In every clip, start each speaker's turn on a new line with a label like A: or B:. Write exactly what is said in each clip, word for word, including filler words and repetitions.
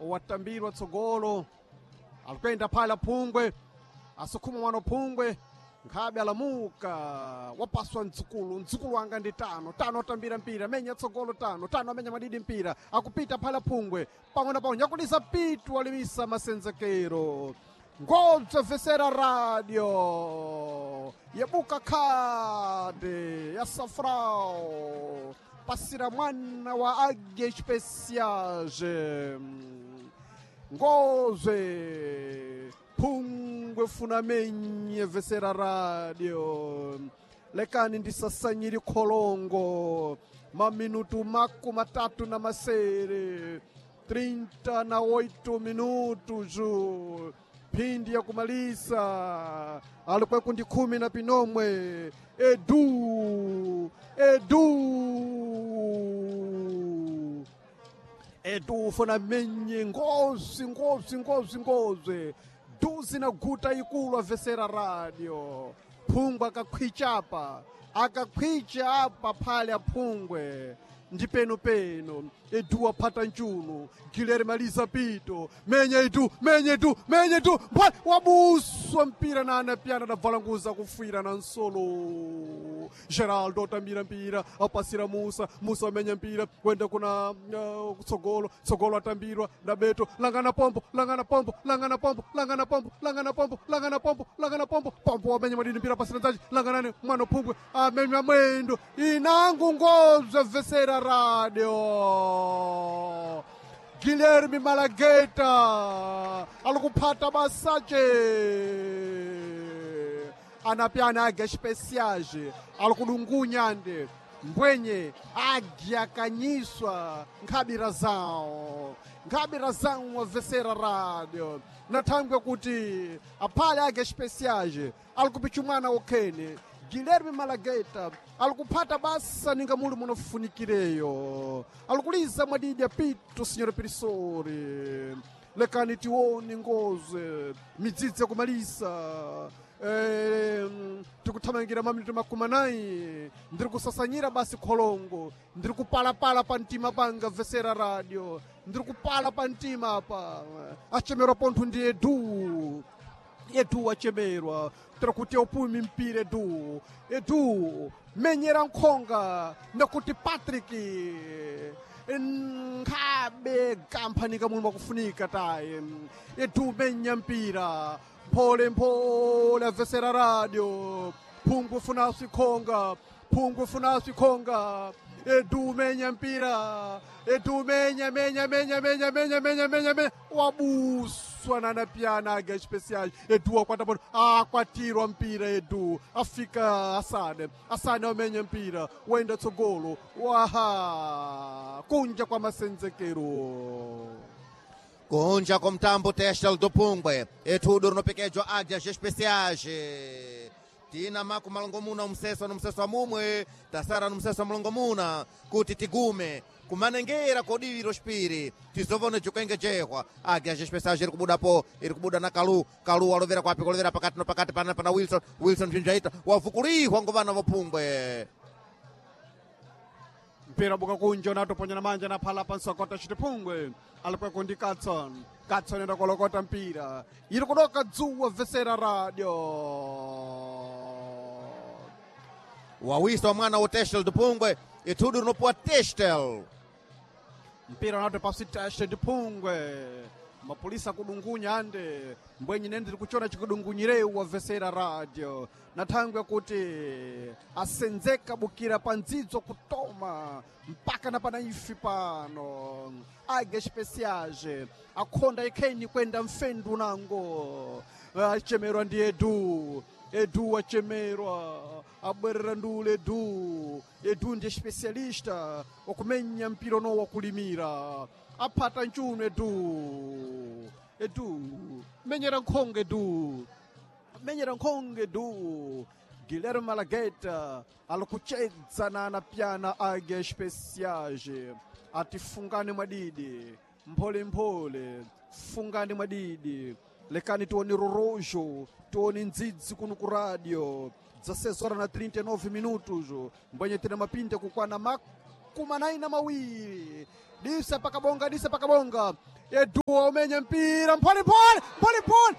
A: Watambirwa tsogolo, alikwenda phala Phungwe, asukhuma mwana Phungwe, nkhabe alamuka, wapaswa mdzukulu. Mdzukulu wanga ndi tano tano, atambira mpira, menya tsogolo tano tano, amenya madidi mpira, akupita phala Phungwe pang'ono pang'ono, nyakulisa pitu, alimisa masenzekero. Ngobzobvesera radio yebuka khade ya Safrao, pasira mwana wa Águia Especiais. Ngozwe Phungwe funa menye vesera radio, lekani ndisasanyiri kholongo. Maminutu maku matatu na masere, trinta na oito minutos, phindi ya kumalisa, alikweku ndi khumi na pinomwe. Edu, Edu, Edu ufuna menye ngozi, ngozi, ngozi, ngozi duzi na guta ikulu. Avesera radio, Phungwe akakhwicha apa, akakhwicha apa phale aphungwe ndi penupenu. Edu aphata nchuno, Gileri malisa pito, menya Edu, menya Edu, menya Edu mphale, wabuswa mpira na anapyana adabvalanguza kufwira na nsolo. Geraldo atambira mpira, apasira Musa. Musa amenya mpira kwenda kuna uh, tsogolo. Tsogolo atambirwa na Beto. Langana pombo, langana pombo, langana pombo, langana pombo, langana pombo, langana pombo, langana pombo. Pombo wamenya madini mpira, pasira nzaji, langanani mwana Phungwe, amenya mwendo inangu. Ngozwe vesera radio, Guilherme Malageta alikuphata basache, anapyana Águia Especiais alikudungunya nde mbwenye águia akanyiswa nkhabira zawo, nkhabira zawo. Wavesera radio, nathangwe kuti aphale Águia Especiais alikupicha mwana okhene Guilherme Malageta alikuphata basa ninga muli munafunikireyo, alikuliza mwadidi apito signor Pirisori. Lekani tione ngoze midzidzi yakumalisa. Eh, tikuthamangira maminuti makumi anayi, ndiri kusasanyira basi kholongo, ndiri kupalapala pa mtima panga. Vesera radio, ndiri kupala pa mtima apa. Achemerwa pontho ndi Edu. Edu achemerwa tiri kuti upumi mpira. Edu, Edu menyera nkhonga nakuti Patrick nkhabe kampani kamwe makufunika taye. Edu menya mpira mphole mphole. Avesera radio, Phungwe funa swikhonga, Phungwe funa swikhonga. Edu menya mpira, Edu menya, menya, menya, menya, menya, menya, menya, menya, wabuswa nanapyana Águia Especiais. Edu akwata pano, akwatirwa mpira Edu, afika Asane. Asane wamenya mpira wenda tsogolo, waha kunja kwa masenzekero.
B: Kunja kwa mtambo Testel do Pungwe, etudo rinopekejwa Águias Especiais. Tina maku malongomuna umseso nomseso mumwe, tasara nomseso malongomuna kuti tigume kumanengera kodiviro xipiri, tizovone jukengejehwa. Águias Especiais iri kubudapo, iri kubuda na Kalu. Kalu walovera kwapi? Kulovera pakati no pakati pana pana Wilson. Wilson bzinjaita wavukulihwa ngovana vopungwe.
A: Mpira buka kunja, unatoponya na manja na phala pansokota chitiphungwe, alikweko ndi Katson. Katson enda kolokota mpira, iri kudoka dzuwa. Vesera radio.
B: Wawisa wa mwana wa Testel do Pungwe, itudu rinopuwa Testel.
A: Mpira unati pasi Teste ndiphungwe, mapolisa kudungunya ande mbwenyi nene ndiri kuchona chikudungunyireu. Wavesera radio, na thangwe kuti asenzeka bukira pa ndzidzo kutoma mpaka na pana ifi pano, Águia Especiais akhonda ikheni kwenda mfendu nango. Achemerwa ndi Edu. Edu achemerwa, abwerera ndule Edu. Edu ndi especialista wakumenya mpira uno wakulimira, aphata nchuno Edu. Edu menyera nkhonge, Edu menyera nkhonge. Edu Guilherme Malageta alikuchedza na anapyana Águia Especiais ati fungani mwadidi, mpholemphole, fungani mwadidi. Lekani tione rorojo, tione ndzidzi kuno ku radio. dezesseis horas na trinta e nove minutos, mbwenye tina mapinde kukwana makumi na mawiri disa pakabonga disa pakabonga Eduwa umenye mpira mpole mpole mpole mpole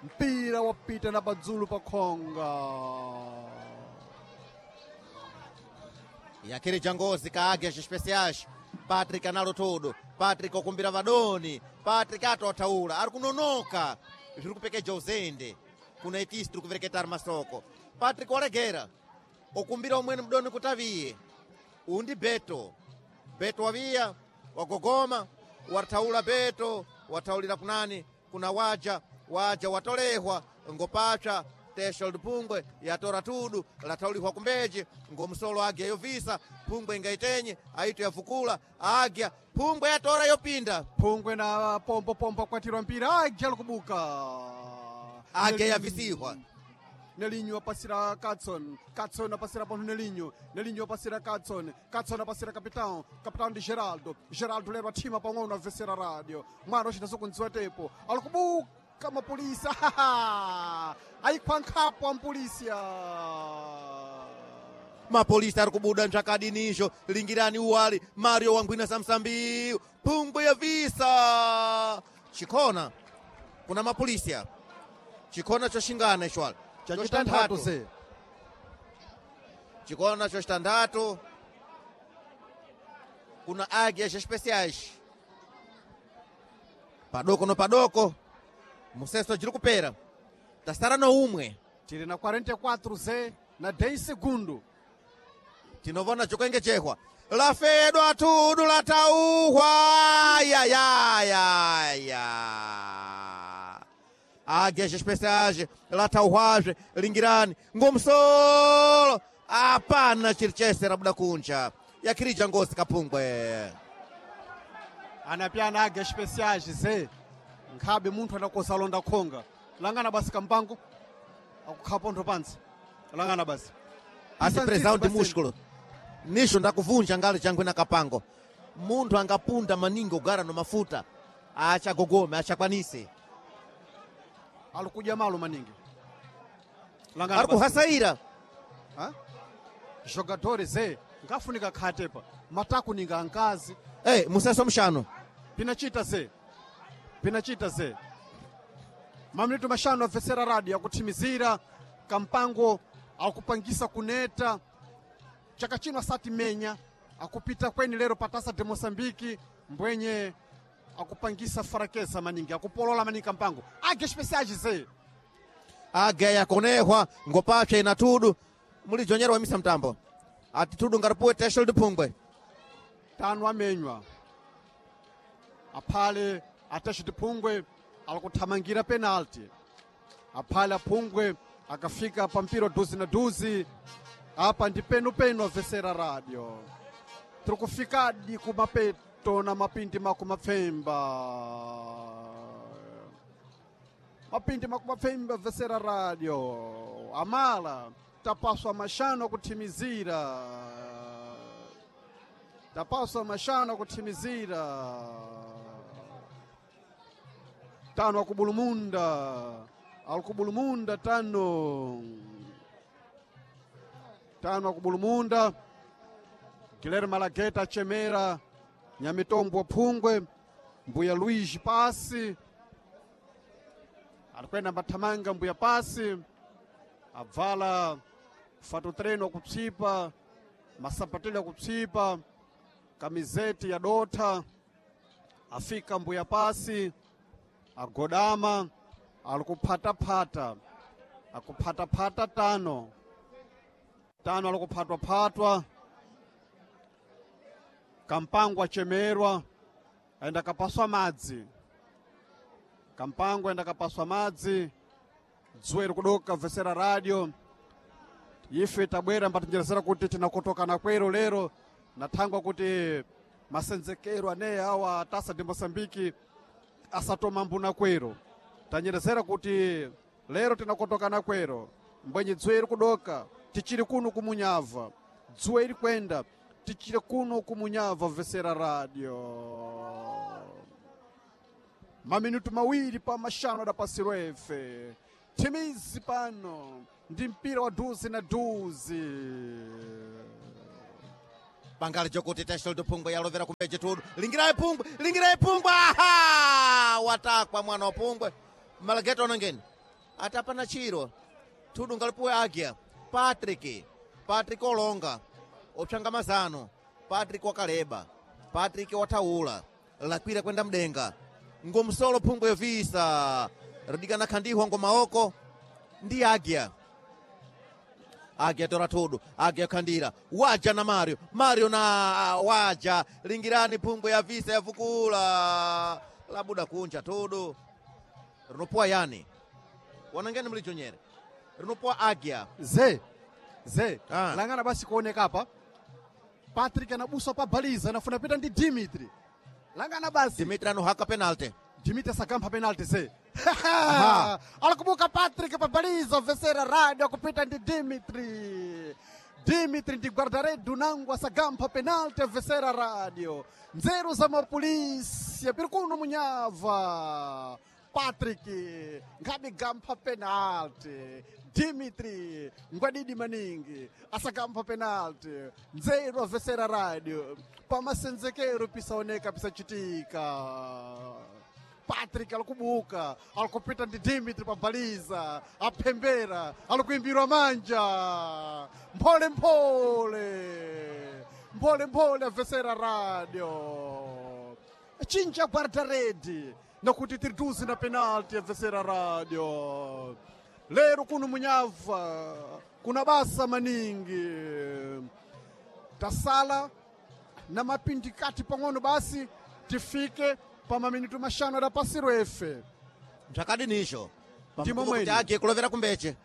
A: mpira wapita na padzulu pa khonga
B: Yakiri jangozi ka Águias Especiais. Patrick analo todo. Patrick okumbira vadoni. Patrick atothaula. Ari kunonoka. Zviri kupekeja uzende. Kuna itisi tiri kuvereketa masoko. Patrick walegera. Okumbira umweni mudoni kuti aviye. Uyu ndi Beto. Beto waviya, wagogoma, wathaula Beto, wathaulira kunani? Kuna waja, waja watolehwa ngopapsa tesha lupungwe yatora tudu lathaulihwa kumbeji ngomsolo agya yovisa phungwe ingaitenye aito yavukula agya phungwe yatora yopinda
A: phungwe na pombo pombo akwatirwa mpira agya likubuka
B: agya yavisihwa
A: Nelinho apasira Katson, Katson apasira para Nelinho, Nelinho apasira Katson, Katson apasira Capitão, Capitão de Geraldo, Geraldo leva tima para um vencer a rádio, mwana ochita sokunziwa tepo, alikubuka mapolisa, aikwankhapo ampolisia.
B: Mapolisa ari kubuda ntsvakadinizo lingirani uwali Mario wangwina samsambiu phungwe yavisa chikhona kuna mapolisi chikhona choxingana ichwala
A: Chachitanthatu se
B: chikona choxitanthatu kuna Águias Especiais padoko no padoko museso jiri kupera tasara no umwe
A: tiri na quarenta e quatro ze na dez segundo
B: tinovona chokuengejehwa lafedwa tudu latauhwa yayayaya Águias Especiais latauhwazve lingirani ngomsolo apana chiri chese rabuda kunja yakhirija ngosi kapungwe
A: anapyana Águias Especiais ze nkhabe munthu anakosa alonda khonga langana basi kampango akukhala pontho pantsi langana basi
B: asi prezão de músculo nicho ndakuvunja ngalo changwe na kapango munthu angapunda maningi ogara no mafuta achagogome achakwanise
A: alikudya malo maningi langana
B: ari
A: basi.
B: kuhasaira
A: Ha? Jogadores ze ngafunika khatepa mataku ninga ankazi
B: hey, museso mxano
A: pinachita ze pinachita ze mamlito mashanu avesera radio akuthimizira kampango akupangisa kuneta chaka chino asati menya akupita kweni lero patasa de Moçambique mbwenye akupangisa farakesa maningi akupolola maningi kampango Águias Especiais ze
B: Águia yakonehwa ngopapsa ina tudu mulijonyera wamisa mtambo ati tudu ngaripuwe tesho liphungwe
A: tano amenywa aphale atachiti phungwe alikuthamangira penalty aphale aphungwe akafika pa mpira duzi na duzi apa ndi penupenu avesera radio tiri kufikadi kumapeto na mapindi makumapfemba mapindi makumapfemba avesera radio amala tapaswa mashano kuthimizira tapaswa mashano kuthimizira tano akubulumunda alikubulumunda tano tano akubulumunda Guilherme Malageta achemera Nyamitombo Phungwe Mbuya Luigi pasi alikwenda mbathamanga Mbuya pasi abvala fatotreno akupsipa masapatelo akupsipa kamizeti ya dotha afika Mbuya pasi agodama alikuphatapata akuphatapata tano tano alikuphatwaphatwa kampango achemerwa aenda kapaswa madzi kampango aenda kapaswa madzi dzuwa iri kudoka vesera radio ife tabwera mbatinjerezera kuti tinakotokana kwero lero nathangwa kuti masenzekero aneya awa tasa de Moçambique asatoma mbuna kwero tanyerezera kuti lero tinakotokana kwero mbwenye dzuwa iri kudoka tichiri kuno kumunyava dzuwa iri kwenda tichiri kuno kumunyava vesera radio maminutu mawiri pa mashanu adapasirwa efe timizi pano Ndi mpira wa duzi na duzi.
B: Pangali chokuti Tashel do Pungwe yalovera kumbeche tudu. Lingirai Pungwe, lingirai Pungwe. Aha! Watakwa mwana wa Pungwe. Malageto onangeni. Atapana chiro. Tudu ngalipuwe agya. Patrick. Patrick olonga. Opshanga mazano. Patrick wakaleba. Patrick wataula. Lakwira kwenda mdenga. Ngomsolo Pungwe visa. Rudikana khandihwa ngomaoko. Ndi agya. Agya tora tudu, agya khandira, waja na Mario, Mario na waja, lingirani Pungwe ya visa yavukula labuda kunja tudu rinopoa yani wanangeni mlichonyere rinopoa agya
A: Ze ze
B: Ah.
A: langana basi kuoneka apa Patrick anabuswa pa baliza anafuna pita ndi Dimitri langana basi
B: Dimitri anohaka penalty
A: Dimitri asakampha penalty ze
B: Aha.
A: alikubuka Patrick pabaliza vesera radio kupita ndi Dimitri Dimitri ndi guardaredu nangu asagampha penalty vesera radio nzeru za mapolisi apiri kuno munyava Patrick ngabe gampha penalty Dimitri ngwadidi maningi asakampha penalty nzeru avesera radio pamasenzekero pisaoneka pisachitika Patrick alikubuka alikupita ndi Dimitri pabaliza aphembera alikuimbirwa manja mphole mphole mphole mphole avesera radio chinja guardaredi nakuti tiri duzi na penalti avesera radio lero kuno munyava kuna basa maningi tasala na mapindikati pang'ono basi tifike pa maminito mashanu adapasiro efe
B: mchakadinisho
A: Ndimo mwene.
B: agye kulovera kumbeche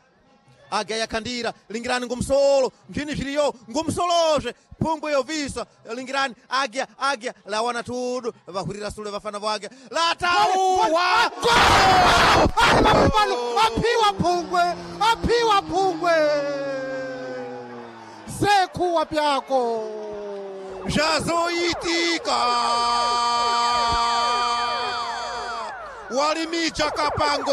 B: agya yakhandira lingirani ngumsolo mphini zviriyo ngumsolozve phungwe yovisa lingirani agya agya lawana tudu vahwirira sule vafana vo agya latauwa
A: Pano aphiwa phungwe aphiwa phungwe sekuwa pyako
B: zvazoitika walimicha kapango.